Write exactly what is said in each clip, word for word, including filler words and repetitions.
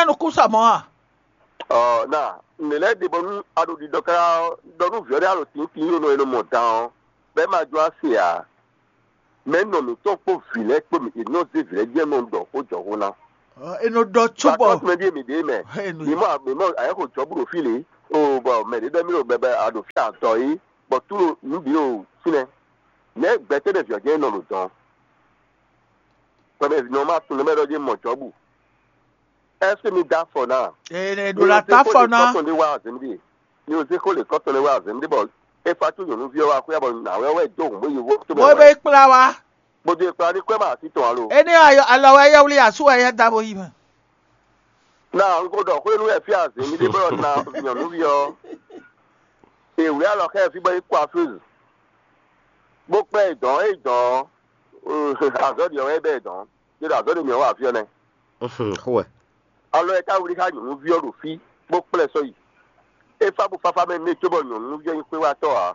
Nya nɔ kú sa mɔ a? Ɔ na, nɛ̌ lɛ́ɛ ɖe bɔ nú a ɖo ɖiɖɔ káká ɔ́, ɖɔ nú vǐ ɔ́ ɖé a ɖo tǐntín yó nɔ e nɔ mɔ dan ɔ́, bɔ é ma jó ase ǎ. Mɛ nɔ mǐtɔn kpó vǐ lɛ́ɛ kpó mǐ è nɔ zé vǐ lɛ́ɛ jɛ nɔ ɖɔ xó jɔxó ná. Ɔ, e nɔ ɖɔ cóbɔ Tɔ́sí mɛ ɖíe mǐ ɖe mɛ. Enu mǐ mɔ mǐ mɔ ayɛ́xo jɔ̌ bú ɖo fí lě. O bɔ mɛ ɖě ɖɔ mì ɖo bɛbɛ a ɖo fí adɔ yí, bɔ tú ɖo nǔ bǐ ɖo fínɛ́. Nɛ̌ gbɛtɛ́ ɖé vǐ ɔ́ jɛ́n nɔ ɖo dɔn? Bɔ mɛ nɔ ma tunwun nɛ́ mɛ ɖɔ jɛ́n mɔ Jɔ̌bu. Ɛ́seke mi dó afɔ ná? Ee, ɖo la ta afɔ ná. Kɔtɔn ɖé wá azɛ̌n ɖé. Mi ò zé xó lě kɔtɔn ɖé wá azɛ̌n ɖé bɔ é fa tó nyɔ̌nuví ɔ́ wá xwé bɔ nǎwe ɔ́ wɛ dó hǔn bó yi wó tó mɛ Bó wɛ. Bɛ kplá wa. Bó dó e kplá ní kwɛ́ ma así tɔn alo. Énɛ́ ayɔ alɔ wɛ yɛ wlí asú wɛ yɛ da bo yi mɛ. Ná n ko ɖɔ xwénu wɛ fí azě mi ɖé bɔ ná nyɔ̌nuví ɔ́. Èwlí alɔ xɛ fí bɔ é kó afúzù. Bó kpɛ́ é dɔn é dɔn azɔ̌ ɖi ɔ́ wɛ bɛ é dɔn. Yé ɖo azɔ̌ ɖe mǐ ɔ́ wa afí ɔ́ nɛ́. Xó wɛ. Alɔ ɛ ká wlí xá nyɔ̌nuví ɔ́ ɖo fí bó kplɛ́ sɔ́ yi. É fá bó fáfá mɛ nú é cóbɔ nyɔ̌nuví ɔ́ nyí xwé wá tɔ́ ǎ.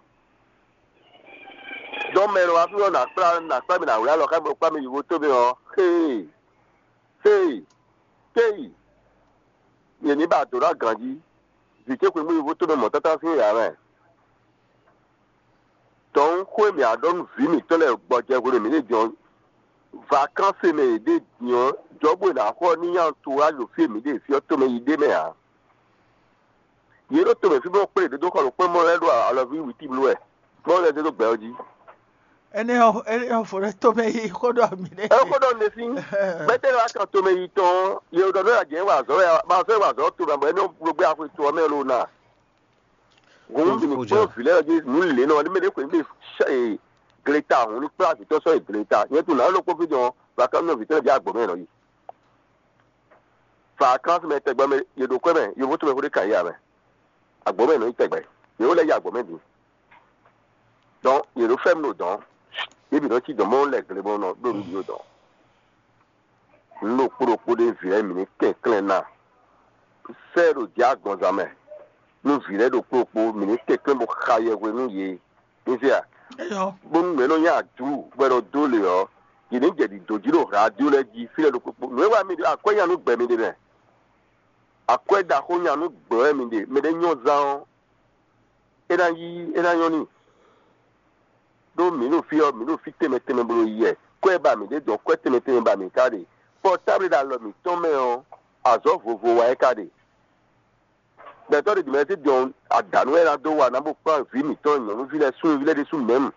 Dɔn mɛ e nɔ wá fí ɔ́ nǎ kplá nǎ kplá mì nǎ wlí alɔ xá mì bó kplá mì yi xótómɛ ɔ́, xée, xée, kéyi, yě ní ba dǒ ná ganjí. Vǐ ce xweyǐgbe yi xótómɛ mɔ̌ tántán sín yǎ mɛ. Dɔn xó e mǐ á ɖɔ nú vǐ mǐtɔn lɛ́ɛ gbɔjɛhwenu e mǐ ɖe din ɔ́, vakánsi e mɛ yě ɖe din ɔ́, Jɔ̌bu e nǎ xɔ ɔ́ ní nyi antourage ɖo fí e mǐ ɖe fí ɔ́ tomɛ yi ɖ'é mɛ ǎ. Yě ɖo tomɛ fí bó kplé yě dó xɔ ɖokpó mɔ lɛ́ɛ ɖo alɔví wǐtíbló wɛ, mɔ lɛ́ɛ dó dó gbɛ ɔ́ jí. Énɛ́ ɔ́ énɛ́ ɔ́ fo ɖé tomɛ yi xó ɖɔ mǐ ɖe. Ɛ xó ɖɔ nɛ́ sín gbɛtɛ́ wá kan tomɛ yi tɔn, yě ɖɔ nú ajɛ wa azɔ̌ wɛ ma fẹ́ wa azɔ̌ tomɛ bɔ é nɔ ɖo gbé axwe to ɔ́ mɛ lo ná. Hǔn mǐ ní kplɔ́n vǐ lɛ́ɛ jí nǔ lě nɔ ní mɛ ɖě xweyǐgbe gleta hǔn ní kplá vǐtɔ́ sɔ́ yi gleta. Nyɛ tunwun nǎ ɖokpó fí dɔn vakánú vǐtɔ́ lɛ́ɛ bǐ agbǒ mɛ nɔ yi. Vakánsi mɛ tɛgbɛ mɛ yě ɖo kwɛ́ mɛ, yovo tɔn mɛ xó ɖé kan yí amɛ. Agbǒ mɛ nɔ yi tɛgbɛ. Yě wó lɛ́ yi agbǒ mɛ din. Dɔn yě ɖo fɛ́ mi ɖo dɔn. Yě bǐ nɔ cí dɔn mɔ lɛ gle bɔ nɔ ɖo nǔ ɖo dɔn. Nǔ ɖokpó ɖokpó ɖé vǐ lɛ́ɛ mǐ ní kɛnklɛ́n ná. Sɛ́ ɖo jǐ agbɔnzán mɛ. Nú vǐ lɛ́ɛ ɖokpó ɖokpó mǐ ní kɛnklɛ́n bó xa yɛhwe nú yě. Mi se a? Eyɔ. Bónú mɛ nɔ nyi adǔ bɔ è nɔ dó lě ɔ́, yě ní jɛ ɖiɖǒ jí ɖo radio lɛ́ɛ jí fí lɛ́ɛ ɖokpó kpó. Nǔ e wa mi ɖe akwɛ́ nya nú gbɛ mi ɖe mɛ. Akwɛ́ ɖaxó nya nú gbɛ wɛ mi ɖe. Mɛ ɖé nyɔ́ zán ɔ́, é ná yí é ná nyɔ́ n'i. Ɖó mǐ ɖo fí ɔ́, mǐ ɖo fí tɛnmɛ tɛnmɛ bó ɖo yi wɛ. Kwɛ́ ba mǐ ɖe dɔn, kwɛ́ tɛnmɛ tɛnmɛ ba mǐ ka ɖe. Kpɔ tábli ɖo alɔ mǐtɔn mɛ ɔ́, azɔ̌ vovo wá é ka ɖe. Gbɛtɔ́ ɖě jǐmɛ sí dɔn adǎnú wɛ ná dó wa ná bó kplán vǐ mǐtɔn nyɔ̌nuví lɛ́ɛ súnnuví lɛ́ɛ ɖésú mɛ̌mu.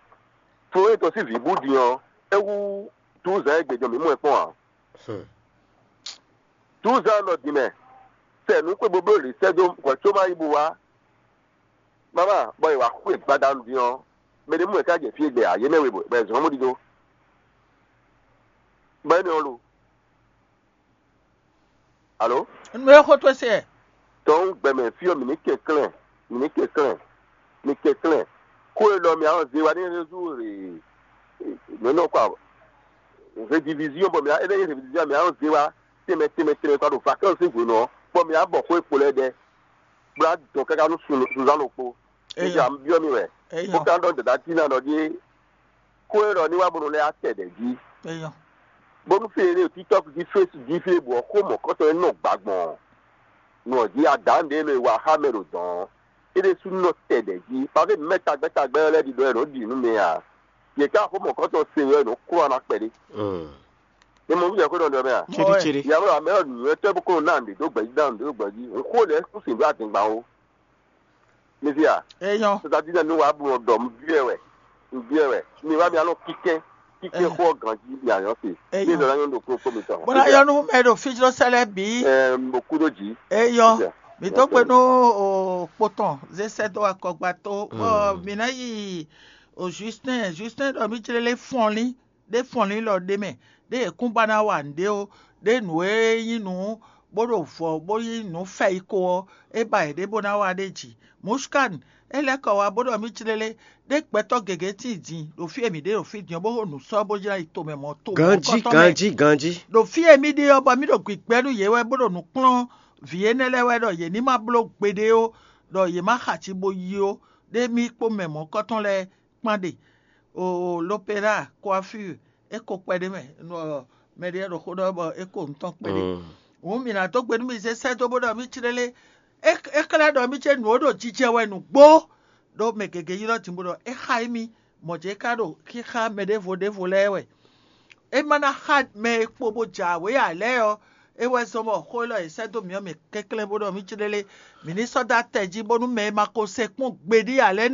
Fó e tɔ́n sín vǐ bú din ɔ́, é hú dúzǎn e gbejɔ mǐ mɔ ɛ kpɔ́n ǎ. Dúzǎn nɔ din mɛ, sɛ nǔ xwé bó bló lě sɛ́ dó hwɛ̌ có má yi bó wá. Mama, bɔ è wǎ xwé gbadanu din ɔ́, mɛ ɖé mú ɛ ká jɛ fí e gbɛ ǎ, yě mɛ we bɔ è zɔ̌n mɔ ɖiɖo. Bɔ énɛ́ ɔ́ lo. Alo? Nú ẹ xó tó se. Tɔn gbɛmɛ fí ɔ́ mǐ ní kɛnklɛ́n, mǐ ní kɛnklɛ́n, mǐ kɛnklɛ́n. Xó e ɖɔ mǐ á nɔ zé wá ní rézú rè mǐ nɔ kɔ rediviziɔn bɔ mǐ á énɛ́ nyí rediviziɔn mǐ á nɔ zé wá tɛnmɛ tɛnmɛ tɛnmɛ kɔ ɖo vakánsi hwenu ɔ́, bɔ mǐ á bɔ xó e kpo lɛ́ɛ ɖɛ, bó ná dɔn káká nú sunzán ɖokpó. Nígbà ń byɔ́ mi wɛ, bó Eyɔ. ká ɖɔ dada Tina ɖɔ ɖíe, xó e ɖɔ ní wá bónú lɛ́ á tɛ ɖɛ̌ jí. Eyɔ. Bónú fí e ɖo TikTok jí, Facebook jí fí e bǔ ɔ́ xó mɔ̌kɔtɔn e nɔ gbǎgbɔn ɔ́, nɔ jí adǎn ɖě nɔ e wa xá mɛ ɖo dɔ̌n ɔ́, é ɖésú nɔ tɛ ɖɛ̌ jí. Pafé mɛ tagbɛ́ tagbɛ́ ɔ́ lɛ́ɛ ɖiɖɔ wɛ nɔ ɖi nú mɛ ǎ. Yě ká xó mɔ̌kɔtɔn se wɛ nɔ kplɔ́n ná kpɛɖé. Ní mo wúzɛ xó nɔ ɖɔ mɛ a? Ciri ciri. Yàrá mɛ ɔ́ nǔnywɛ́tɔ́ bó kó nɔ ná nǔɖé dó gbɛ̌jí dá nǔɖé dó gbɛ̌jí. Ń xó lɛ́ɛ kún sǐn ɖó adǐngban ó. Mi fí a? Eyɔ. Sɔsɔdí nɛ nú wàá bu ɔdɔ nbí ɛ wɛ, nbí ɛ wɛ. Mi wá mi alɔ kíkẹ́, kíkẹ́ Eyɔ. Xó ganjí mi àyàn se. Eyɔ. Mi zɔlá yɔn ɖo kúrò kómi tɔn. Bɔla yɔnu mɛ ɖo fijlɔ sɛlɛ bi. Ɛɛ mo kú dó jí. Eyɔ. Eyɔ. Mi tó gbe nú o kpotɔn zesɛ dó akɔgba tó. Bɔ mi ná yi o Justin, Justin ɖɔ mi jlé lé fɔnlín ɖé fɔnlín lɔ ɖé mɛ ɖé yě kún ba ná wa nǔɖé ó, ɖé nǔ e nyí nǔ bó ɖo vɔ̌ bó nyí nǔ fɛ yi ko ɔ́, é ba yě ɖé bó ná wa ɖé ji. Muskan é lɛ́ kɔ wá bó ɖɔ mì clélé ɖé gbɛtɔ́ gěgé tíin din ɖo fí e mǐ ɖe ɖo fí din ɔ́ bó xo nǔ sɔ́ bó jlá yi tomɛ mɔ̌ to Ganji, ganji, ganji. Ɖo fí e mì ɖe ɔ́ bɔ mì ɖo gbigbɛ nú yě wɛ bó ɖo nǔ kplɔ́n vǐ énɛ́ lɛ́ɛ wɛ ɖɔ yě ní ma bló gbeɖé ó, ɖɔ yě má xa ci bo yi ó, ɖé mì kpó mɛ mɔ̌kɔtɔn lɛ́ɛ kpán ɖe. O l'opéra, coiffure, é ko kpɛɖé mɛ, mɛ ɖé ɖo xó ɖɔ bɔ é ko nǔ tɔn kpɛɖé. Hǔn mì nǎ dó gbe nú mì zé sɛ́ dó bó ɖɔ mì clélé. É é xlɛ́ ɖɔ mì ce nǔ ó ɖo jijɛ wɛ nǔgbó, ɖó mɛ gěgé ylɔ́ din bó ɖɔ é xa émí, mɔ̌ ce ka ɖo xíxá mɛ ɖěvo ɖěvo lɛ́ɛ wɛ. É ma ná xa mɛ e kpo bó jɛ awě ǎ lɛ́ɛ ɔ́, É wɛ zɔ́n bɔ xó élɔ́ e sɛ́ dó mǐ ɔ́ mǐ kɛnklɛ́n bó ɖɔ mǐ céɖélé, mǐ ní sɔ́ dó atɛ jí bónú mɛ e ma ko se kpɔ́n gbeɖé ǎ lɛ́ɛ